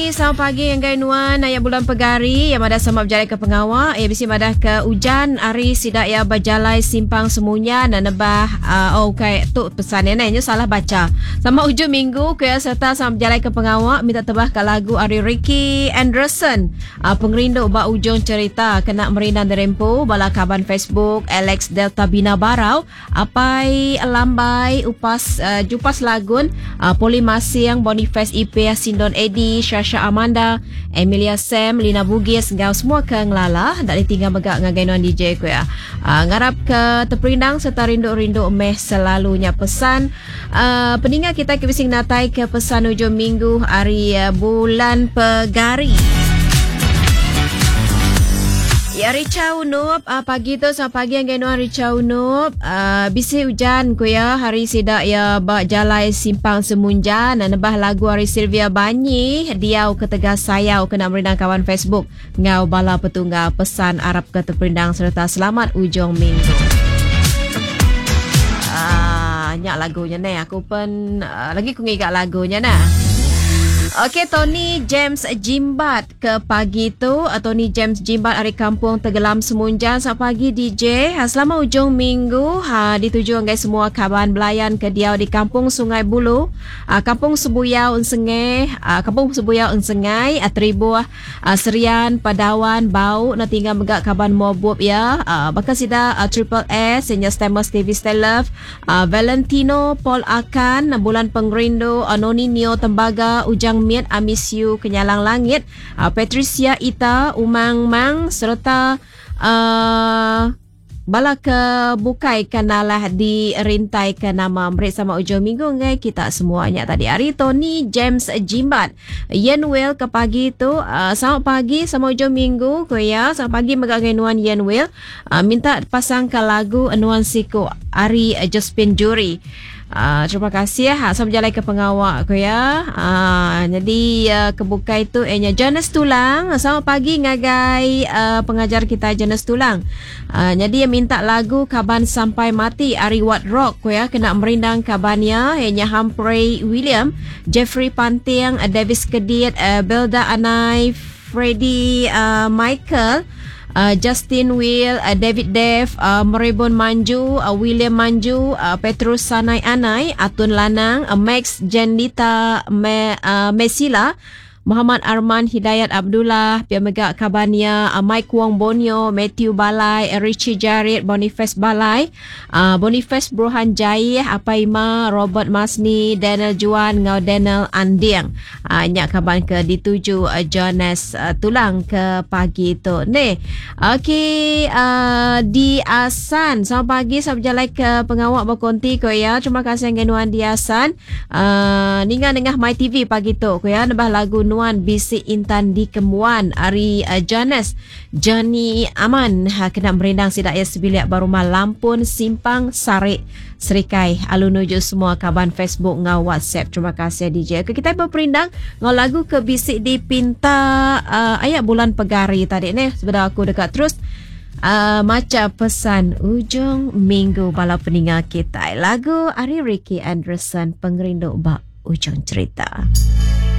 Okey, selamat pagi ngagai nuan aya bulan pegari yang madah sama bejalai ke pengawa. Ia bisi madah ke ujan hari sida ia bejalai simpang semunya dan nebah uh, oh okay tu pesan ya neh salah baca. Sama ujung minggu ke serta sama bejalai ke pengawa minta tebah ke lagu ari Ricky Anderson. Uh, pengerindu ba ujung cerita kena merindang dirempu bala kaban Facebook Alex Delta Bina Barau Apai Lambai, Upas Jupas Lagun, Poli Masing, Boniface Ipeh, Sindon Edi, Shasha Amanda, Emilia Sam, Lina Bugis enggau semua ke ngelala enda ditinggal mega ngagai nuan DJ ku iya. Ngarap ke teperindang sereta rindu-rindu meh selalu nya pesan peninga kitai ke bisi ngenatai ke pesan ujung minggu ari bulan Pegari. Ya Richa Unup uh, pagi tu selamat pagi ngagai nuan Richa Unup uh, bisi ujan ku ya hari sida ya ba jalai simpang Semunjan nebah lagu ari Sylvia Banyi diau ketegal sayau kena merindang kawan Facebook enggau bala petunggal pesan arap ke teperindang sereta selamat ujung minggu. Ah, nya lagunya neh aku pen uh, lagi ku ngiga lagunya nah. Okey Tony James Jimbat Ke pagi tu, Tony James Jimbat ari Kampung Tegelam Semunjan. Selamat pagi DJ. Ha, selama ujung minggu ha, dituju ngagai semua kaban belayan ke diau di Kampung Sungai Bulu, ha, Kampung Sebuyau Ensengei, ha, Kampung Sebuyau Ensengai, ha, Teribuh, ha, Serian, Padawan, Bau, enda tinggal mega kaban Mobup iya, ha, baka sida ha, Triple S, inya Stamus TV Stay Love, Valentino Paul Akan, Bulan Pengerindu, Noni Neo Tembaga, Ujang Mit, Amis Yu Kenyalang Langit, Patricia Ita, Umang Mang sereta bala ke bukai ke nalah dirintaika nama meri sama ujung minggu ngagai kita semua nya tadi ari Tony James Jimbat. Yen Will ke pagi tu selamat pagi sama ujung minggu ku iya. Selamat pagi mega ngagai nuan Yen Will. Minta pasangka lagu Nuan Siku ari Josephine Juri. Terima kasih sama bejalai ke pengawa ku iya. Nyadi ke bukai tu iya nya Jonas Tulang. Selamat pagi ngagai pengajar kitai Jonas Tulang. Nyadi iya minta lagu Kaban Sampai Mati ari Wat Rock ku iya kena merindang kaban iya iya nya Humphrey William, Jeffrey Panting, Davis Kedit, Belda Anai, Freddie Michael, Justin Will, David Dev, Merebon Manju, William Manju, Petrus Sanai Anai, Atun Lanang, Max Jendita Mesila, Muhammad Arman Hidayat Abdullah, pia mega kaban iya Mike Wong Bonio, Matthew Balai, Richie Jarit, Boniface Balai, Boniface Bruhan Jaih, Apai Ima, Robert Masni, Daniel Juan enggau Daniel Anding. Nya kaban ke dituju Jonas Tulang ke pagi tu. Neh. Okey di Asan. Selamat pagi, selamat bejalai ke pengawa ba konti ko iya. Terima kasih ngagai nuan di Asan. Ninga nengah My TV pagi tu ko iya nebah lagu Nuan Bisi Intan Dikembuan ari Jonas. Johnny Aman kena merindang sida iya sebilik ba rumah Lampun Simpang Sarik Serikai alu nuju semua kaban Facebook enggau WhatsApp. Terima kasih DJ. Okey kitai beperindang enggau lagu ke bisi dipinta uh, aya bulan pegari tadi neh sebedau aku deka terus uh, macha pesan ujung minggu bala peninga kitai. Lagu ari Ricky Anderson Pengerindu ba Ujung Cerita.